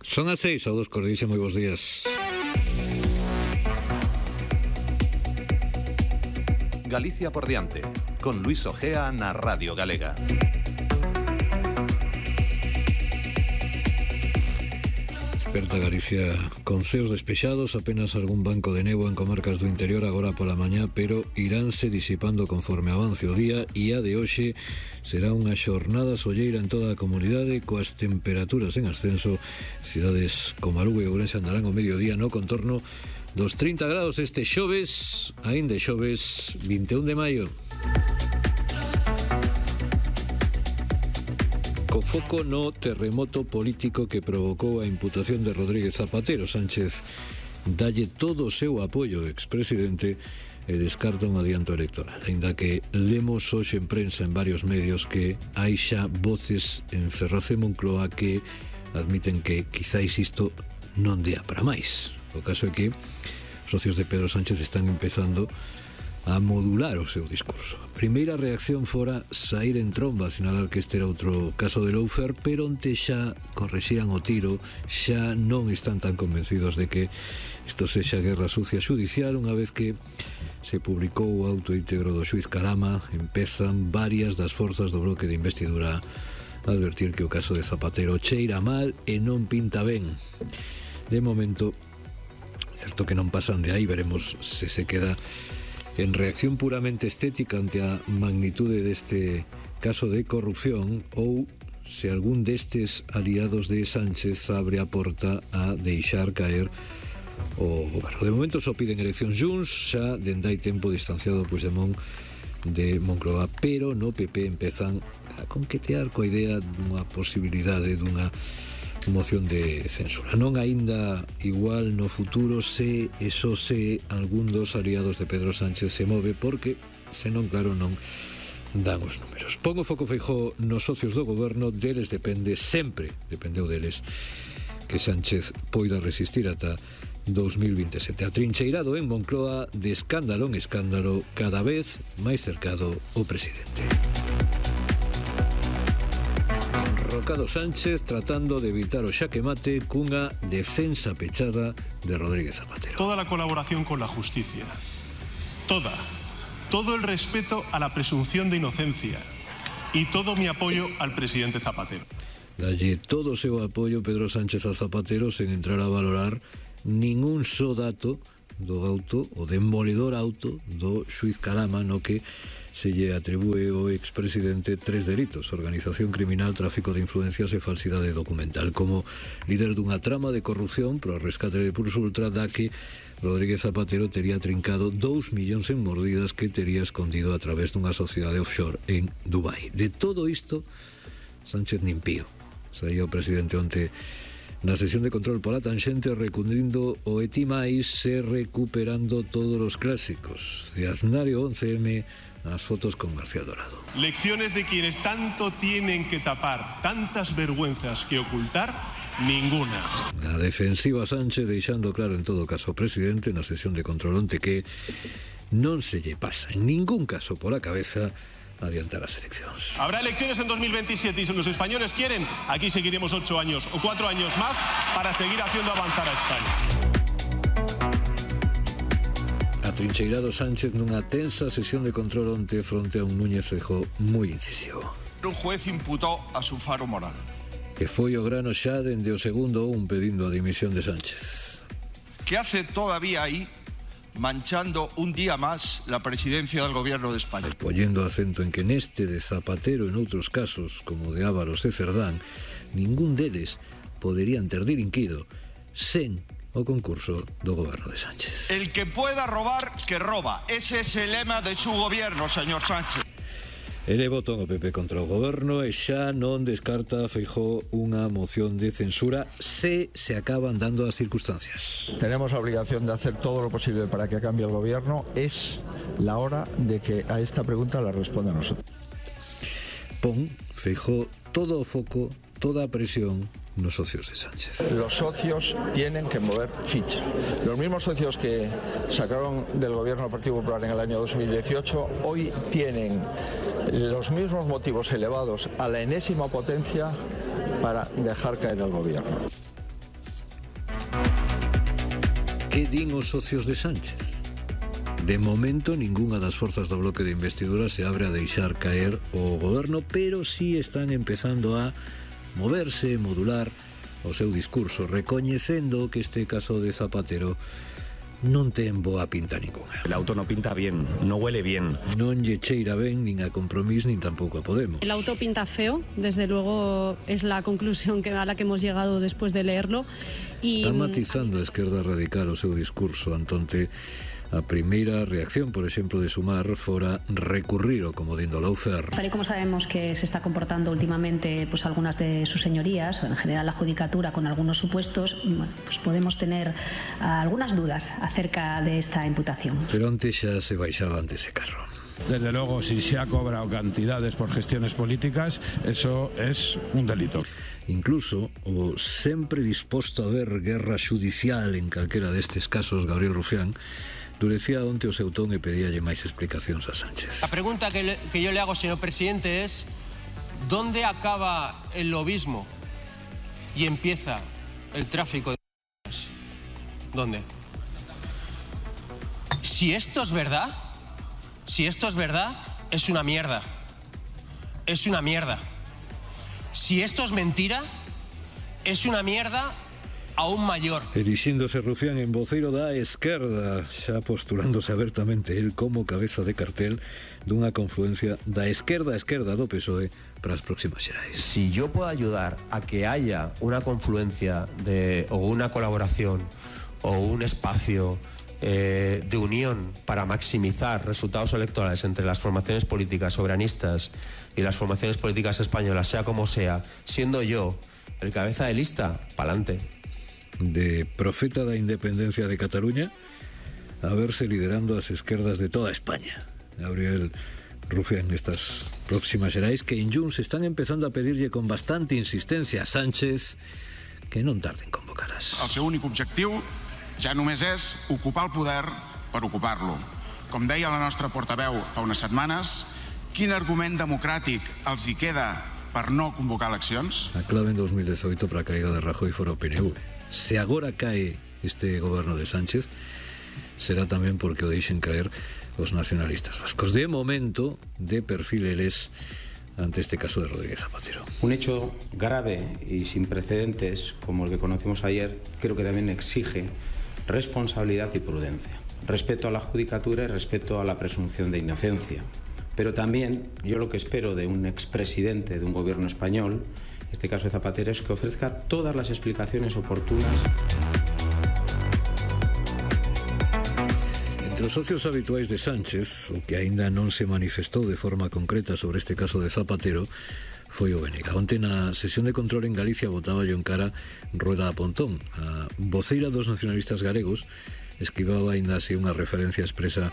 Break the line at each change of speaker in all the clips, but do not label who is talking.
Son as 6, saúdos cordiais e moi bons días.
Galicia por diante, con Luis Ojea na Radio Galega.
Desperta Galicia con ceos despexados, apenas algún banco de néboa en comarcas do interior agora pola mañá, pero iránse disipando conforme avance o día e a de hoxe será unha xornada solleira en toda a comunidade coas temperaturas en ascenso. Cidades como Lugo e Ourense andarán ao mediodía no contorno dos 30 grados este xoves, aínda xoves 21 de maio. Co foco no terremoto político que provocou a imputación de Rodríguez Zapatero, Sánchez dalle todo o seu apoio ao expresidente e descarta un adianto electoral, aínda que lemos hoxe en prensa en varios medios que hai xa voces en Ferraz e Moncloa que admiten que quizáis isto non dea para máis. O caso é que os socios de Pedro Sánchez están empezando a modular o seu discurso. A primeira reacción fora sair en tromba, sinalar que este era outro caso de lawfare, pero onte xa correxían o tiro, xa non están tan convencidos de que isto sexa guerra sucia xudicial. Unha vez que se publicou o auto íntegro do xuiz Carama, empezan varias das forzas do bloque de investidura a advertir que o caso de Zapatero cheira mal e non pinta ben. De momento, certo que non pasan de aí, veremos se se queda en reacción puramente estética ante a magnitude deste caso de corrupción ou se algún destes aliados de Sánchez abre a porta a deixar caer o goberno. De momento só piden eleccións Junts, xa dende hai tempo distanciado Puigdemont de Moncloa, pero no PP empezan a conquetear coa idea dunha posibilidade dunha moción de censura. Non aínda igual no futuro se eso se algún dos aliados de Pedro Sánchez se move, porque senón claro non dan os números. Pongo foco Feijóo nos socios do goberno, deles depende, sempre dependeu deles que Sánchez poida resistir ata 2027. Atrincheirado en Moncloa, de escándalo en escándalo, cada vez máis cercado o presidente. Enrocado Sánchez tratando de evitar o xaque mate cunha defensa pechada de Rodríguez Zapatero.
Toda la colaboración con la justicia, todo el respeto a la presunción de inocencia y todo mi apoyo al presidente Zapatero.
Dalle todo o seu apoio Pedro Sánchez a Zapatero sen entrar a valorar ningún só dato do auto, o demoledor auto do xuiz Carama, no que se lle atribúe ao expresidente 3 delitos: organización criminal, tráfico de influencias e falsidade documental. Como líder dunha trama de corrupción pro rescate de Pulso Ultra, da que Rodríguez Zapatero tería trincado 2 millóns en mordidas que tería escondido a través dunha sociedade offshore en Dubai. De todo isto, Sánchez nin pío. Saía o presidente onte na sesión de control pola tanxente recundindo o etimais e recuperando todos os clásicos de Aznario 11M, as fotos con García Dorado.
Lecciones de quienes tanto tienen que tapar, tantas vergüenzas que ocultar, ninguna.
A defensiva Sánchez deixando claro en todo caso ao presidente na sesión de control onte que non se lle pasa en ningún caso pola cabeza adiantar as eleccións.
Habrá elecciones en 2027 y si los españoles quieren, aquí seguiremos 8 años o 4 años más para seguir haciendo avanzar a España.
Atrincheirado Sánchez nunha tensa sesión de control onte fronte a un Núñez Feijóo moi incisivo.
Un juez imputó a su faro moral.
Que foi o grano xa dende o segundo un pedindo a dimisión de Sánchez.
¿Qué hace todavía ahí manchando un día más la presidencia del gobierno de España?
Poñendo acento en que neste de Zapatero en outros casos, como de Ábalos e Cerdán, ningún deles poderían ter delinquido sen o concurso do goberno de Sánchez.
El que pueda robar, que roba. Ese es el lema de su gobierno, señor Sánchez.
Ele votou o PP contra o goberno e xa non descarta Feijóo unha moción de censura se acaban dando as circunstancias.
Tenemos la obligación de hacer todo lo posible para que cambie el gobierno. Es la hora de que a esta pregunta la responda a nosotros.
Pon Feijóo todo o foco, toda a presión nos socios de Sánchez.
Los socios tienen que mover ficha. Los mismos socios que sacaron del gobierno del Partido Popular en el año 2018 hoy tienen los mismos motivos elevados a la enésima potencia para dejar caer el gobierno.
Que din os socios de Sánchez? De momento, ningunha das forzas do bloque de investidura se abre a deixar caer o goberno, pero sí están empezando a moverse, modular o seu discurso, recoñecendo que este caso de Zapatero non ten boa pinta ninguna.
El auto no pinta bien, no huele bien.
Non lle cheira ben nin a Compromís nin tampouco a Podemos.
El auto pinta feo, desde luego es la conclusión a la que hemos llegado después de leerlo.
Está matizando a Esquerda Radical o seu discurso, Antonte. A primeira reacción, por exemplo, de Sumar fora recurrir ao comodín do lawfare.
Tal y como sabemos que se está comportando últimamente pues algunas de sus señorías, o en general la judicatura con algunos supuestos, pues podemos tener algunas dudas acerca de esta imputación.
Pero antes xa se baixaba ante ese carro.
Desde luego, si se ha cobrado cantidades por gestiones políticas, eso es un delito.
Incluso o sempre disposto a ver guerra judicial en calquera destes casos, Gabriel Rufián, endurecía onte o seu ton e pedíalle máis explicacións a Sánchez.
La pregunta que yo le hago, señor presidente, es ¿dónde acaba el lobismo y empieza el tráfico de drogas? ¿Dónde? Si esto es verdad, es una mierda. Es una mierda. Si esto es mentira, es una mierda aún mayor.
Erixíndose Rufián en voceiro da Esquerda, xa postulándose abertamente el como cabeza de cartel dunha confluencia da esquerda do PSOE para as próximas xerais.
Si yo puedo ayudar a que haya una confluencia o una colaboración o un espacio de unión para maximizar resultados electorales entre las formaciones políticas soberanistas y las formaciones políticas españolas, sea como sea, siendo yo el cabeza de lista, pa'lante.
De profeta da independencia de Cataluña a verse liderando as esquerdas de toda España. Gabriel Rufián nestas próximas xerais que en Junts están empezando a pedirlle con bastante insistencia a Sánchez que non tarde en convocaràs.
El seu únic objectiu ja només és ocupar el poder per ocupar-lo. Com deia la nostra portaveu fa unes setmanes, quin argument democràtic els hi queda per no convocar eleccions?
A clave en 2018 para a caída de Rajoy fora o PNV. Se agora cae este goberno de Sánchez, será tamén porque o deixen caer os nacionalistas vascos. De momento, de perfil eles ante este caso de Rodríguez Zapatero.
Un hecho grave y sin precedentes, como el que conocimos ayer, creo que también exige responsabilidad y prudencia. Respeto a la judicatura y respeto a la presunción de inocencia. Pero también yo lo que espero de un expresidente de un gobierno español, en este caso de Zapatero, es que ofrezca todas las explicaciones oportunas.
Entre os socios habituais de Sánchez, o que aínda non se manifestou de forma concreta sobre este caso de Zapatero, foi o Bénega. Onte na sesión de control en Galicia botaba yo en cara Rueda a Pontón. A voceira dos nacionalistas galegos esquivaba aínda así unha referencia expresa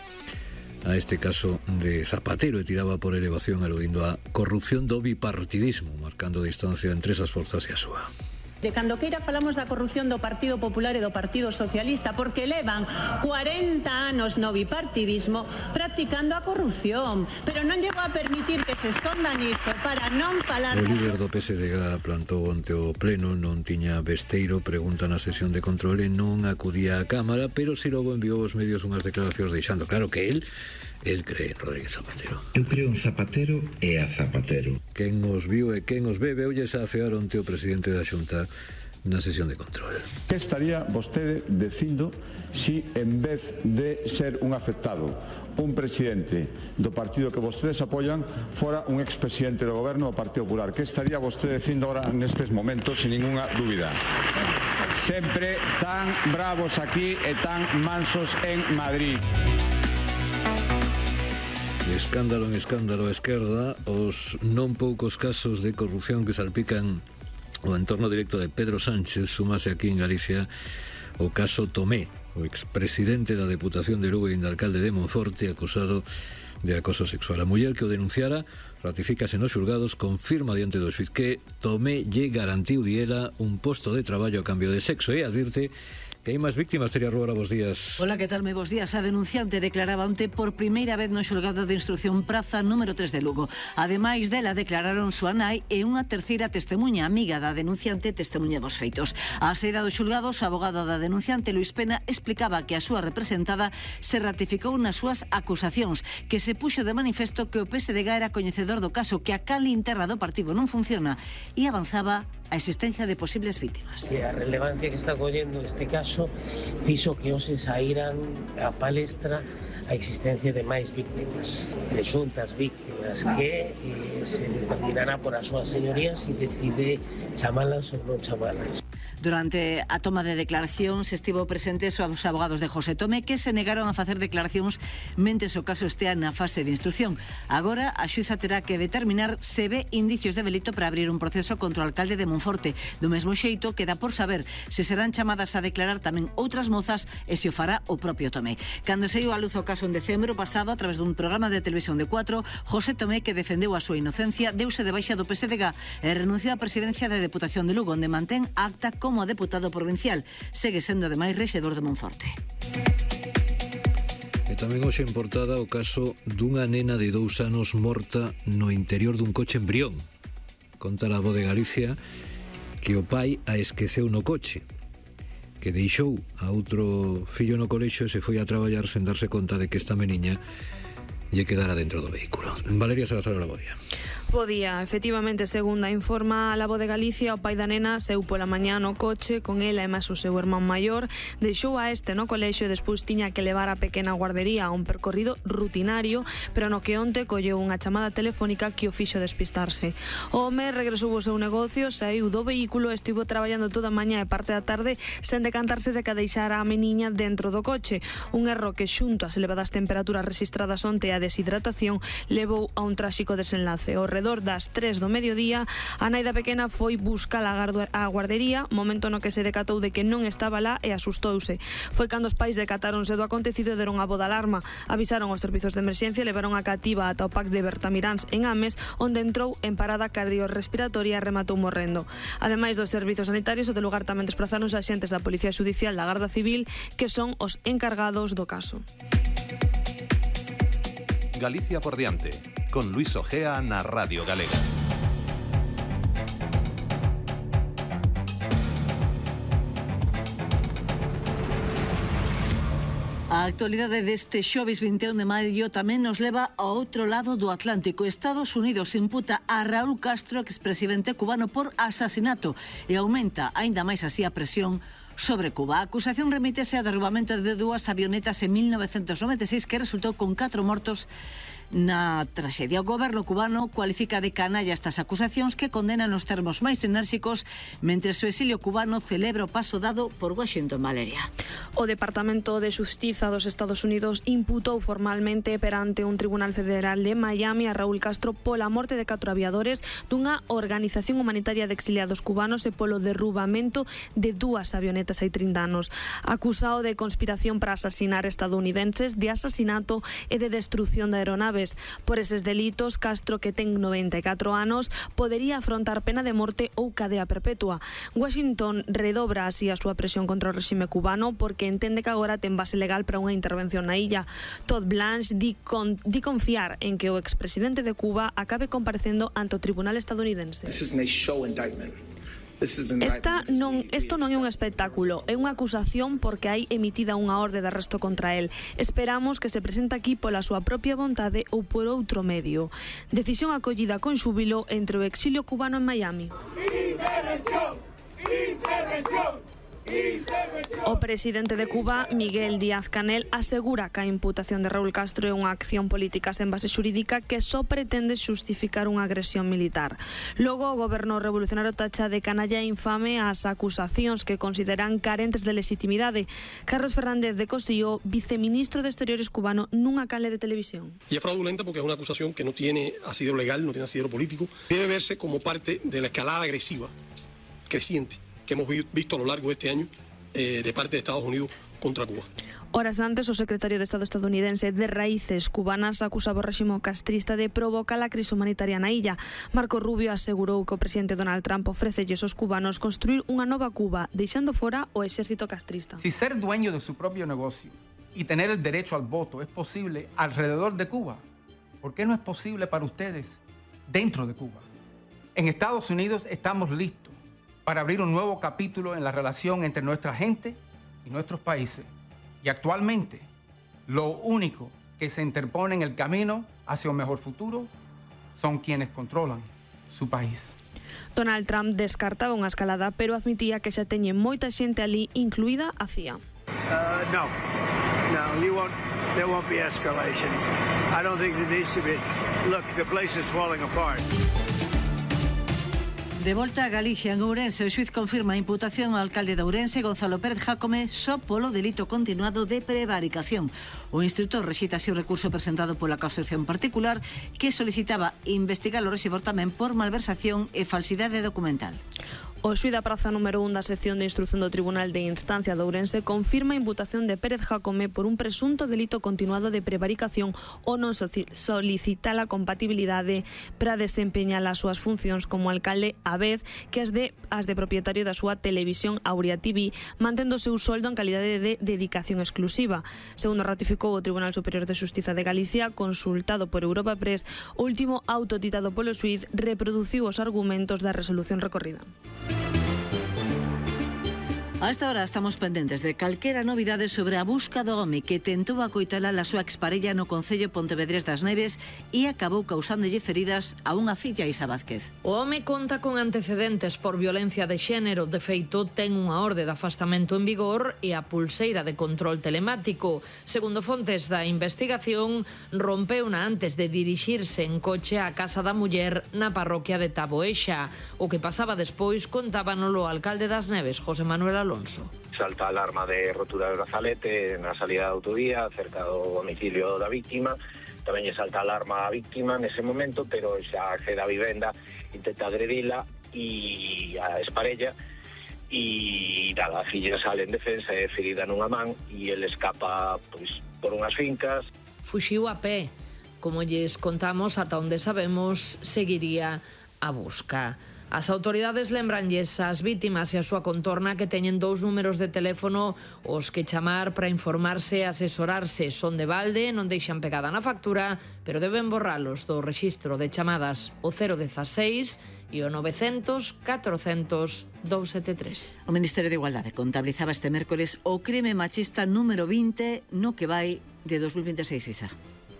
a este caso de Zapatero e tiraba por elevación aludindo a corrupción do bipartidismo, marcando distancia entre esas forzas e a súa.
De cando queira falamos da corrupción do Partido Popular e do Partido Socialista porque levan 40 anos no bipartidismo practicando a corrupción, pero non llego a permitir que se escondan iso para non falar.
O líder do PSDG plantou onte o pleno, non tiña vesteiro, pregunta na sesión de control e non acudía á Cámara, pero si logo enviou aos medios unhas declaracións deixando claro que el cree en Rodríguez Zapatero.
Eu creo en Zapatero e a Zapatero.
Quen os viu e quen os ve, veulles a afear onte o presidente da Xunta na sesión de control.
Que estaría vostede dicindo si en vez de ser un afectado, un presidente do partido que vostedes apoian, fora un expresidente do goberno do Partido Popular? Que estaría vostede dicindo agora nestes momentos, sin ninguna dúbida? Sempre tan bravos aquí e tan mansos en Madrid.
De escándalo en escándalo a esquerda, os non poucos casos de corrupción que salpican o entorno directo de Pedro Sánchez, sumase aquí en Galicia o caso Tomé, o expresidente da Deputación de Lugo e alcalde de Monforte, acusado de acoso sexual. A muller que o denunciara ratifícase nos xulgados, confirma diante do xuiz que Tomé lle garantiu diela un posto de traballo a cambio de sexo e advirte Que hai máis víctimas, Celia Ruora, bos días.
Hola, que tal? Moi bos días. A denunciante declaraba onte por primeira vez no xulgado de instrucción praza número 3 de Lugo. Ademais dela, declararon súa nai e unha terceira testemuña, amiga da denunciante, testemuña dos feitos. A saída do xulgado, o abogado da denunciante, Luis Pena, explicaba que a súa representada se ratificou nas súas acusacións, que se puxo de manifesto que o PSDG era coñecedor do caso, que a canle interna do partido non funciona e avanzaba a existencia de posibles víctimas.
A relevancia que está collendo este caso fixo que hoxe saíran a palestra a existencia de máis víctimas, presuntas víctimas, que se determinará por as súas señorías se decide chamalas ou non chamalas.
Durante a toma de declaracións estivo presentes os abogados de José Tomé, que se negaron a facer declaracións mentes o caso estea na fase de instrucción. Agora a xuíza terá que determinar se ve indicios de delito para abrir un proceso contra o alcalde de Monforte. Do mesmo xeito, queda por saber se serán chamadas a declarar tamén outras mozas e se o fará o propio Tomé. Cando saiu a luz o caso en decembro pasado a través dun programa de televisión de 4, José Tomé, que defendeu a súa inocencia, deuse de baixa do PSDG e renunciou á presidencia da Deputación de Lugo, onde mantén acta como deputado provincial. Segue sendo ademais rexedor de Monforte.
E tamén hoxe en portada o caso dunha nena de 2 anos morta no interior dun coche en Brión. Conta a Voz de Galicia que o pai a esqueceu no coche, que deixou a outro fillo no colexio e se foi a traballar sen darse conta de que esta meniña lle quedara dentro do vehículo. Valeria Salazar, la Bodía.
Podía, efectivamente, segundo informa a La Voz de Galicia, o pai da nena seu pola mañá no coche con ela e máis o seu irmán maior, deixou a este no colexio e despois tiña que levar a pequena guardería a un percorrido rutinario, pero no que onte colleu unha chamada telefónica que o fixo despistarse. O home regresou ao seu negocio, saiu do vehículo e estivo traballando toda a mañá e parte da tarde sen decantarse de que deixara a meniña dentro do coche. Un erro que, xunto ás elevadas temperaturas registradas onte e a deshidratación, levou a un tráxico desenlace. Ao redor das 3 do mediodía, a nai da pequena foi buscar a guardería, momento no que se decatou de que non estaba lá e asustouse. Foi cando os pais decatáronse do acontecido e deron a voz de alarma. Avisaron aos servizos de emerxencia e levaron a cativa ata o PAC de Bertamiráns en Ames, onde entrou en parada cardiorrespiratoria e rematou morrendo. Ademais dos servizos sanitarios, o de lugar tamén desplazaron os axentes da Policía Judicial da Garda Civil, que son os encargados do caso.
Galicia por diante, con Luis Ojea na Radio Galega.
A actualidade deste xoves 21 de maio tamén nos leva ao outro lado do Atlántico. Estados Unidos imputa a Raúl Castro, expresidente cubano, por asasinato e aumenta aínda máis así a presión sobre Cuba. A acusación remítese ao derrubamento de 2 avionetas en 1996 que resultou con 4 mortos na traxedia. O goberno cubano cualifica de canalla estas acusacións, que condenan nos termos máis enérxicos, mentre o exilio cubano celebra o paso dado por Washington. Valeria.
O Departamento de Xustiza dos Estados Unidos imputou formalmente perante un tribunal federal de Miami a Raúl Castro pola morte de 4 aviadores dunha organización humanitaria de exiliados cubanos e polo derrubamento de 2 avionetas hai 30 anos. Acusado de conspiración para asasinar estadounidenses, de asasinato e de destrucción de aeronaves. Por eses delitos, Castro, que ten 94 anos, podería afrontar pena de morte ou cadea perpetua. Washington redobra así a súa presión contra o réxime cubano porque entende que agora ten base legal para unha intervención na illa. Todd Blanche di confiar en que o expresidente de Cuba acabe comparecendo ante o tribunal estadounidense. Isto non é un espectáculo, é unha acusación porque hai emitida unha orde de arresto contra el. Esperamos que se presente aquí pola súa propia vontade ou por outro medio. Decisión acollida con xúbilo entre o exilio cubano en Miami. Intervención! Intervención! O presidente de Cuba, Miguel Díaz-Canel, asegura que a imputación de Raúl Castro é unha acción política sen base xurídica que só pretende xustificar unha agresión militar. Logo, o goberno revolucionario tacha de canalla infame as acusacións que consideran carentes de legitimidade. Carlos Fernández de Cosío, viceministro de Exteriores cubano, nunha canle de televisión.
Y es fraudulenta porque es una acusación que no tiene asidero legal, no tiene asidero político. Debe verse como parte de la escalada agresiva creciente que hemos visto a lo largo de este año de parte de Estados Unidos contra Cuba.
Horas antes, o secretario de Estado estadounidense de raíces cubanas acusaba o réximo castrista de provocar a crise humanitaria na illa. Marco Rubio asegurou que o presidente Donald Trump ofrécelles aos cubanos construir unha nova Cuba, deixando fora o exército castrista.
Si ser dueño de su propio negocio y tener el derecho al voto es posible alrededor de Cuba, ¿por qué no es posible para ustedes dentro de Cuba? En Estados Unidos estamos listos para abrir un nuevo capítulo en la relación entre nuestra gente y nuestros países. Y actualmente, lo único que se interpone en el camino hacia un mejor futuro son quienes controlan su país.
Donald Trump descartaba unha escalada, pero admitía que xa teñe moita xente ali, incluída a CIA.
No, there won't be escalation. I don't think there needs to be. Look, the place is falling apart.
De volta a Galicia, en Ourense, o xuiz confirma a imputación ao alcalde de Ourense, Gonzalo Pérez Jácome, só polo delito continuado de prevaricación. O instructor rexeita así o recurso presentado pola acusación particular que solicitaba investigar o rexedor tamén por malversación e falsidade documental. O xuíz da praza número 1 da sección de instrucción do Tribunal de Instancia de Ourense confirma a imputación de Pérez Jácome por un presunto delito continuado de prevaricación ou non solicita a compatibilidade para desempeñar as súas funcións como alcalde a vez que as de propietario da súa televisión Aurea TV, mantendo o seu soldo en calidade de dedicación exclusiva. Segundo ratificou o Tribunal Superior de Xustiza de Galicia, consultado por Europa Press, o último auto ditado polo xuíz reproduciu os argumentos da resolución recorrida. A esta hora estamos pendentes de calquera novidade sobre a busca do home que tentou acoitalar a súa exparella no concello Pontevedrés das Neves e acabou causándolle feridas a unha filla, Isa Vázquez.
O home conta con antecedentes por violencia de xénero. De feito, ten unha orde de afastamento en vigor e a pulseira de control telemático. Segundo fontes da investigación, rompeuna antes de dirixirse en coche á casa da muller na parroquia de Taboexa. O que pasaba despois contábanolo o alcalde das Neves, José Manuel Alonso.
Salta a alarma de rotura de brazalete na salida da autovía cerca do domicilio da víctima. Tamén lle salta a alarma a víctima nese momento, pero xa accede á vivenda, intenta agredila e a esparella e nada, a filla sale en defensa, é ferida nunha man e ele escapa pois por unhas fincas.
Fuxiu a pé. Como lles contamos, ata onde sabemos, seguiría a busca. As autoridades lembranlles ás vítimas e a súa contorna que teñen 2 números de teléfono os que chamar para informarse e asesorarse. Son de balde, non deixan pegada na factura, pero deben borralos do rexistro de chamadas o 016 e o 900 400 273.
O Ministerio de Igualdade contabilizaba este mércores o crime machista número 20 no que vai de 2026, Isa.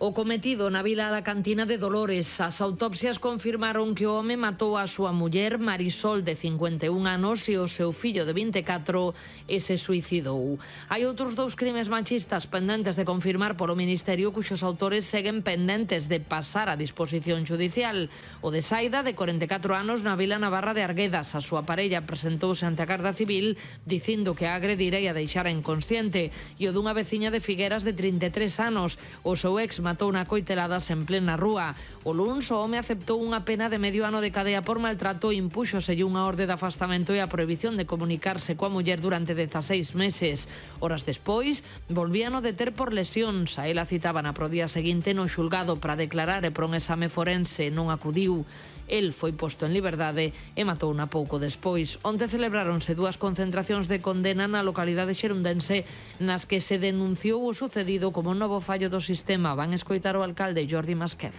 O cometido na vila da Cantina de Dolores. As autopsias confirmaron que o home matou a súa muller Marisol, de 51 anos, e o seu fillo de 24 e se suicidou. Hai outros 2 crimes machistas pendentes de confirmar polo Ministerio, cuxos autores seguen pendentes de pasar a disposición judicial. O de Saida, de 44 anos, na vila navarra de Arguedas. A súa parella presentouse ante a Garda Civil dicindo que a agredira e a deixara inconsciente. E o dunha veciña de Figueras, de 33 anos. O seu ex matou na coiteladas en plena rúa. O luns, o home aceptou unha pena de medio ano de cadea por maltrato e impúxoselle unha orde de afastamento e a prohibición de comunicarse coa muller durante 16 meses. Horas despois, volvían a deter por lesións. A ela citaban pro día seguinte no xulgado para declarar e por un exame forense non acudiu. El foi posto en liberdade e matouna pouco despois. Onte celebráronse 2 concentracións de condena na localidade xerundense nas que se denunciou o sucedido como un novo fallo do sistema. Van escoitar o alcalde Jordi Masquef.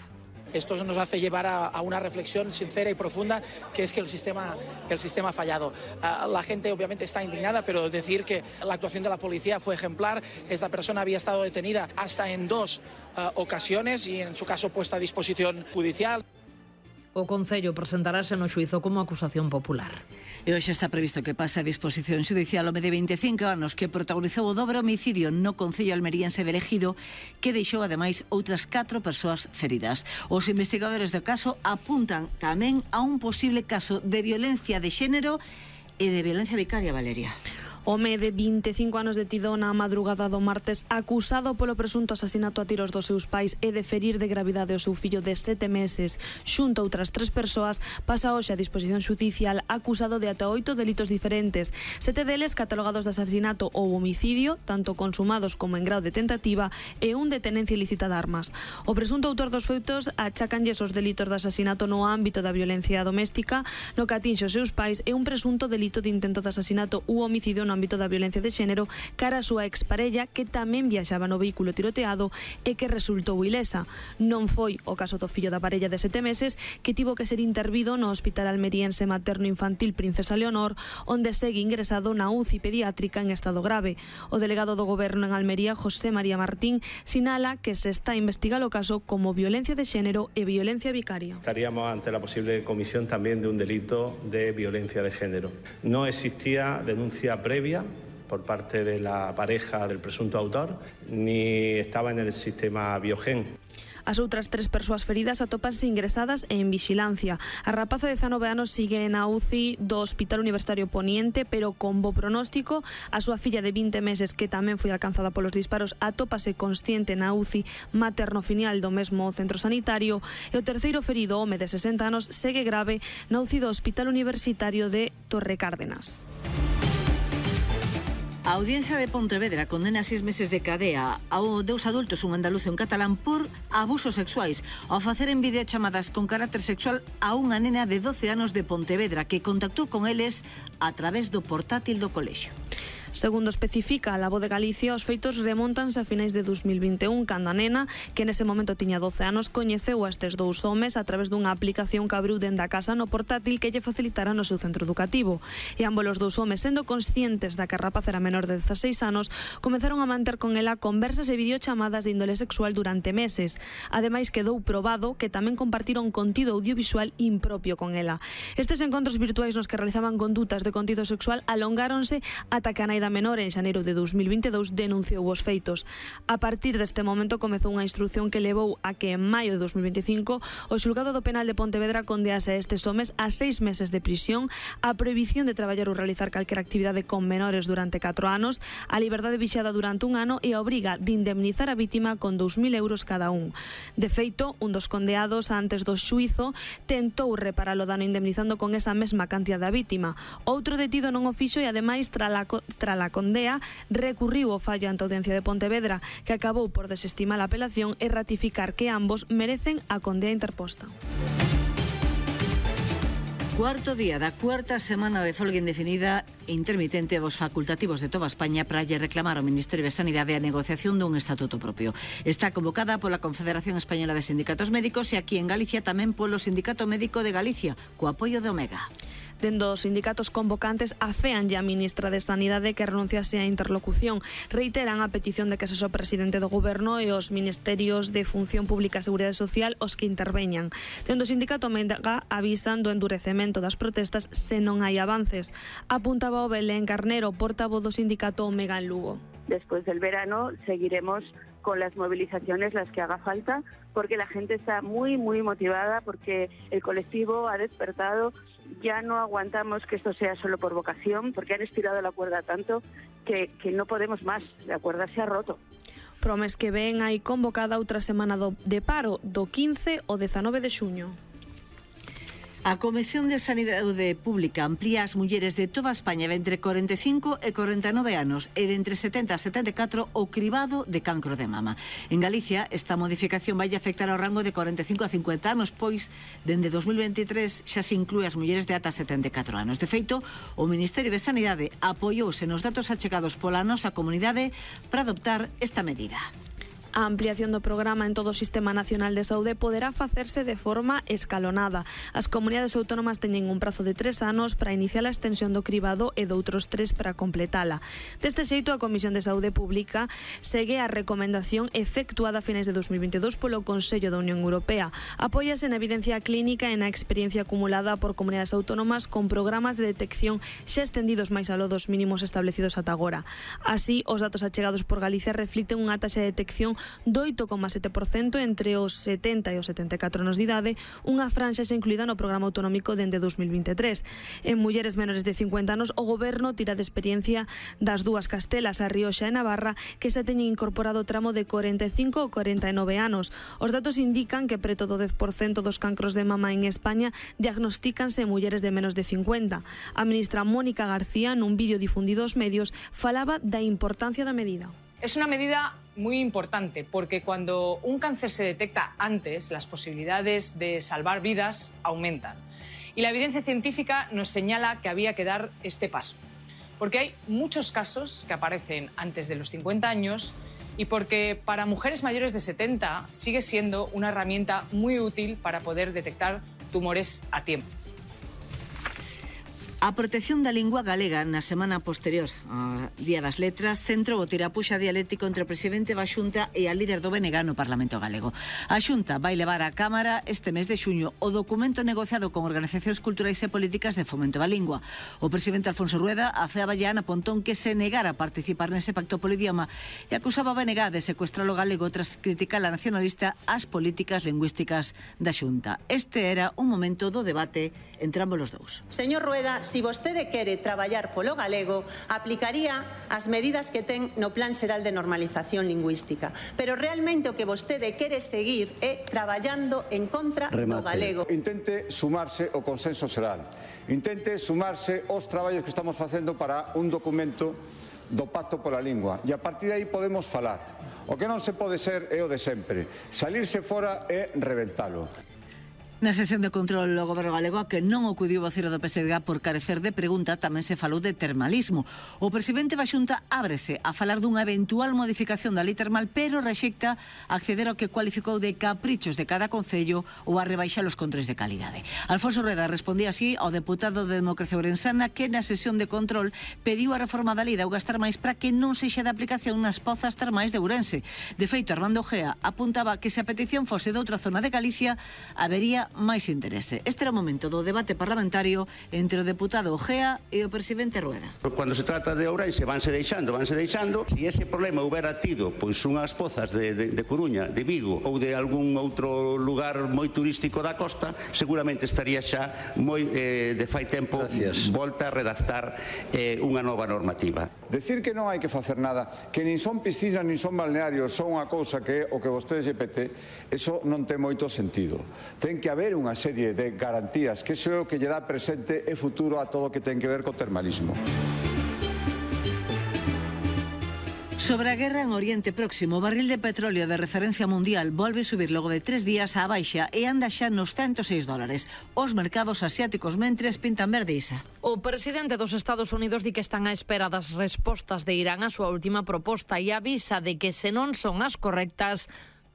Esto nos hace llevar a una reflexión sincera y profunda, que es que el sistema ha fallado. La gente obviamente está indignada, pero decir que la actuación de la policía fue ejemplar. Esta persona había estado detenida hasta en 2 ocasiones y en su caso puesta a disposición judicial.
O Concello presentarase no xuizo como acusación popular.
E hoxe está previsto que pase a disposición judicial o home de 25 anos que protagonizou o dobre homicidio no Concello almeriense de Ejido, que deixou ademais outras 4 persoas feridas. Os investigadores do caso apuntan tamén a un posible caso de violencia de xénero e de violencia vicaria, Valeria.
Home de 25 anos detido na madrugada do martes, acusado polo presunto asasinato a tiros dos seus pais e de ferir de gravidade o seu fillo de 7 meses, xunto a outras 3 persoas, pasa hoxe a disposición xudicial acusado de ata 8 delitos diferentes, 7 deles catalogados de asasinato ou homicidio, tanto consumados como en grau de tentativa, e un de tenencia ilícita de armas. O presunto autor dos feitos achacanlles os delitos de asasinato no ámbito da violencia doméstica, no que atinxe os seus pais, e un presunto delito de intento de asasinato ou homicidio no ámbito da violencia de xénero cara a súa exparella, que tamén viaxaba no vehículo tiroteado e que resultou ilesa. Non foi o caso do fillo da parella de 7 meses, que tivo que ser intervido no Hospital Almeriense Materno Infantil Princesa Leonor, onde segue ingresado na UCI pediátrica en estado grave. O delegado do Goberno en Almería, José María Martín, sinala que se está a investigar o caso como violencia de xénero e violencia vicaria.
Estaríamos ante la posible comisión también de un delito de violencia de género. No existía denuncia previa por parte de la pareja del presunto autor, ni estaba en el sistema Biogen.
As outras 3 persoas feridas atópanse ingresadas en vixilancia. A rapaza de 19 anos sigue na UCI do Hospital Universitario Poniente, pero con bo pronóstico. A súa filla de 20 meses, que tamén foi alcanzada polos disparos, atópase consciente na UCI materno-filial do mesmo centro sanitario. E o terceiro ferido, home de 60 anos, segue grave na UCI do Hospital Universitario de Torrecárdenas.
A Audiencia de Pontevedra condena 6 meses de cadea a 2 adultos, un andaluz e un catalán, por abusos sexuais ao facer en videochamadas con carácter sexual a unha nena de 12 anos de Pontevedra que contactou con eles a través do portátil do colexio.
Segundo especifica a La Voz de Galicia, os feitos remontanse a finais de 2021, cando a nena, que nese momento tiña 12 anos, coñeceu a estes 2 homes a través dunha aplicación que abriu dende a casa no portátil que lle facilitara no seu centro educativo. E ambos os 2 homes, sendo conscientes da que a rapaz era menor de 16 anos, comezaron a manter con ela conversas e videochamadas de índole sexual durante meses. Ademais, quedou probado que tamén compartiron contido audiovisual impropio con ela. Estes encontros virtuais nos que realizaban condutas de contido sexual alongáronse ata que a nai da menor en xaneiro de 2022 denunciou os feitos. A partir deste momento comezou unha instrución que levou a que en maio de 2025 o xulgado do penal de Pontevedra condease a estes homes a 6 meses de prisión, a prohibición de traballar ou realizar calquera actividade con menores durante 4 anos, a liberdade vixiada durante 1 ano e a obriga de indemnizar a vítima con 2.000 euros cada un. De feito, un dos condeados antes do xuízo tentou reparar o dano indemnizando con esa mesma cantidad da vítima. Outro detido non o fixo e ademais tras a condea recurriu o fallo ante a Audiencia de Pontevedra, que acabou por desestimar a apelación e ratificar que ambos merecen a condea interposta.
Cuarto día da cuarta semana de folga indefinida e intermitente aos facultativos de toda España para lle reclamar ao Ministerio de Sanidade a negociación dun estatuto propio. Está convocada pola Confederación Española de Sindicatos Médicos e aquí en Galicia tamén polo Sindicato Médico de Galicia, co apoio de Omega.
Dende os sindicatos convocantes aféanlle a ministra de Sanidade que renunciase á interlocución. Reiteran a petición de que sexa o presidente do Goberno e os ministerios de Función Pública e Seguridade Social os que interveñan. Dende o sindicato Omega avisan do endurecemento das protestas se non hai avances. Apuntaba o Belén Carnero, portavoz do sindicato Omega en Lugo.
Después del verano seguiremos con las movilizaciones, las que haga falta, porque la gente está muy motivada, porque el colectivo ha despertado. Ya no aguantamos que esto sea solo por vocación, porque han estirado la cuerda tanto que no podemos más. La cuerda se ha roto.
Pro mes que ven hai convocada outra semana de paro do 15 ao 19 de xuño.
A Comisión de Sanidade Pública amplía as mulleres de toda España de entre 45 e 49 anos e de entre 70 a 74 o cribado de cancro de mama. En Galicia, esta modificación vai afectar ao rango de 45 a 50 anos, pois, dende 2023 xa se inclúe as mulleres de ata 74 anos. De feito, o Ministerio de Sanidade apoiouse nos datos achegados pola nosa comunidade para adoptar esta medida.
A ampliación do programa en todo o Sistema Nacional de Saúde poderá facerse de forma escalonada. As comunidades autónomas teñen un prazo de 3 anos para iniciar a extensión do cribado e doutros 3 para completala. Deste xeito, a Comisión de Saúde Pública segue a recomendación efectuada a finais de 2022 polo Consello da Unión Europea. Apóiase na evidencia clínica e na experiencia acumulada por comunidades autónomas con programas de detección xa extendidos máis aló dos mínimos establecidos ata agora. Así, os datos achegados por Galicia reflicten unha taxa de detección do 8,7% entre os 70 e os 74 anos de idade, unha franxa xa incluída no programa autonómico dende 2023. En mulleres menores de 50 anos, o goberno tira de experiencia das dúas Castelas, a Rioxa e Navarra, que xa teñen incorporado o tramo de 45 ou 49 anos. Os datos indican que preto do 10% dos cancros de mama en España diagnostícanse en mulleres de menos de 50. A ministra Mónica García, nun vídeo difundido aos medios, falaba da importancia da medida.
Es una medida muy importante porque cuando un cáncer se detecta antes, las posibilidades de salvar vidas aumentan. Y la evidencia científica nos señala que había que dar este paso. Porque hay muchos casos que aparecen antes de los 50 años y porque para mujeres mayores de 70 sigue siendo una herramienta muy útil para poder detectar tumores a tiempo.
A protección da lingua galega na semana posterior ao Día das Letras centrou o tirapuxa dialéctico entre o presidente da Xunta e a líder do BNG no Parlamento Galego. A Xunta vai levar á Cámara este mes de xuño o documento negociado con organizacións culturais e políticas de fomento da lingua. O presidente Alfonso Rueda afeaba ya Ana Pontón que se negara a participar nese pacto polo idioma e acusaba a BNG de secuestrar o galego tras criticar a nacionalista as políticas lingüísticas da Xunta. Este era un momento do debate entre ambos os dous.
Señor Rueda, si vostede quere traballar polo galego, aplicaría as medidas que ten no Plan Xeral de Normalización Lingüística. Pero realmente o que vostede quere seguir é traballando en contra do galego.
Intente sumarse ao consenso xeral. Intente sumarse aos traballos que estamos facendo para un documento do Pacto pola Lingua. E a partir de aí podemos falar. O que non se pode ser é o de sempre. Salirse fora e reventalo.
Na sesión de control o Goberno galego que non acudiu o vocero do PSDG por carecer de pregunta tamén se falou de termalismo. O presidente da Xunta ábrese a falar dunha eventual modificación da lei termal, pero rexecta acceder ao que cualificou de caprichos de cada concello ou a rebaixar os controles de calidade. Alfonso Rueda respondía así ao deputado de Democracia Ourensana que na sesión de control pediu a reforma da lei de augas termais para que non sexa de aplicación nas pozas termais de Ourense. De feito, Armando Gea apuntaba que se a petición fose de outra zona de Galicia habería máis interese. Este era o momento do debate parlamentario entre o deputado Gea e o presidente Rueda.
Cando se trata de Ourense vanse deixando. Se ese problema houbera tido pois unhas pozas de Coruña, de Vigo ou de algún outro lugar moi turístico da costa, seguramente estaría xa moi de fai tempo volta a redactar unha nova normativa.
Decir que non hai que facer nada, que nin son piscinas nin son balnearios, son unha cousa que é o que vostedes lle pete, eso non ten moito sentido. Ten que haber unha serie de garantías, que iso é o que lle dá presente e futuro a todo o que ten que ver co termalismo.
Sobre a guerra en Oriente Próximo, o barril de petróleo de referencia mundial volve subir logo de 3 días á baixa e anda xa nos $106. Os mercados asiáticos mentres pintan verde, Isa.
O presidente dos Estados Unidos di que están á espera das respostas de Irán á súa última proposta e avisa de que se non son as correctas,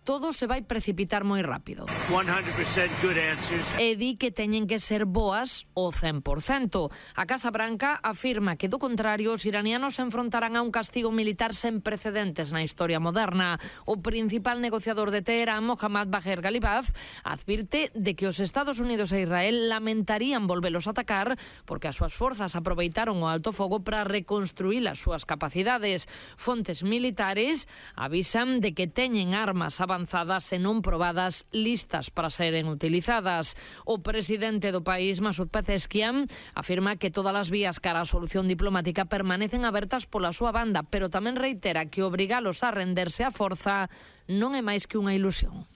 todo se vai precipitar moi rápido.
100% good answers.
E di que teñen que ser boas o 100%. A Casa Branca afirma que, do contrario, os iranianos se enfrontarán a un castigo militar sen precedentes na historia moderna. O principal negociador de Teherán, Mohammad Bagher Ghalibaf, advirte de que os Estados Unidos e Israel lamentarían volvelos a atacar porque as súas forzas aproveitaron o alto fogo para reconstruir as súas capacidades. Fontes militares avisan de que teñen armas avanzadas e non probadas listas para seren utilizadas. O presidente do país, Masoud Pezeshkian, afirma que todas as vías cara á solución diplomática permanecen abertas pola súa banda, pero tamén reitera que obrigalos a renderse á forza non é máis que unha ilusión.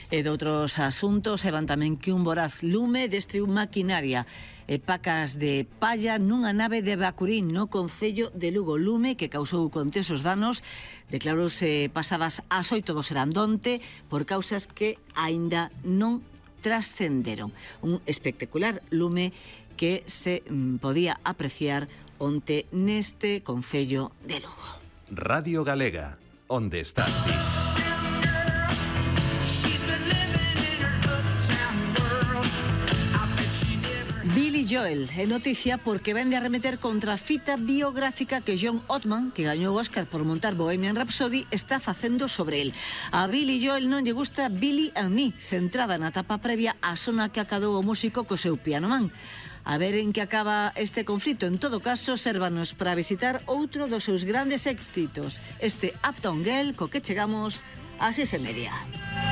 E de outros asuntos, e van tamén que un voraz lume destruiu maquinaria e pacas de palla nunha nave de Bacurín no concello de Lugo. Lume que causou contesos danos declarouse pasadas as 8 do serandonte por causas que aínda non trascenderon. Un espectacular lume que se podía apreciar onte neste concello de Lugo.
Radio Galega, onde estás ti?
Billy Joel é noticia porque vende a remeter contra a fita biográfica que John Ottman, que gañou o Oscar por montar Bohemian Rhapsody, está facendo sobre el. A Billy Joel non lle gusta Billy and Me, centrada na etapa previa á sona que acadou o músico co seu Piano Man. A ver en que acaba este conflito. En todo caso, sérvanos para visitar outro dos seus grandes éxitos, este Uptown Girl, co que chegamos a 6:30.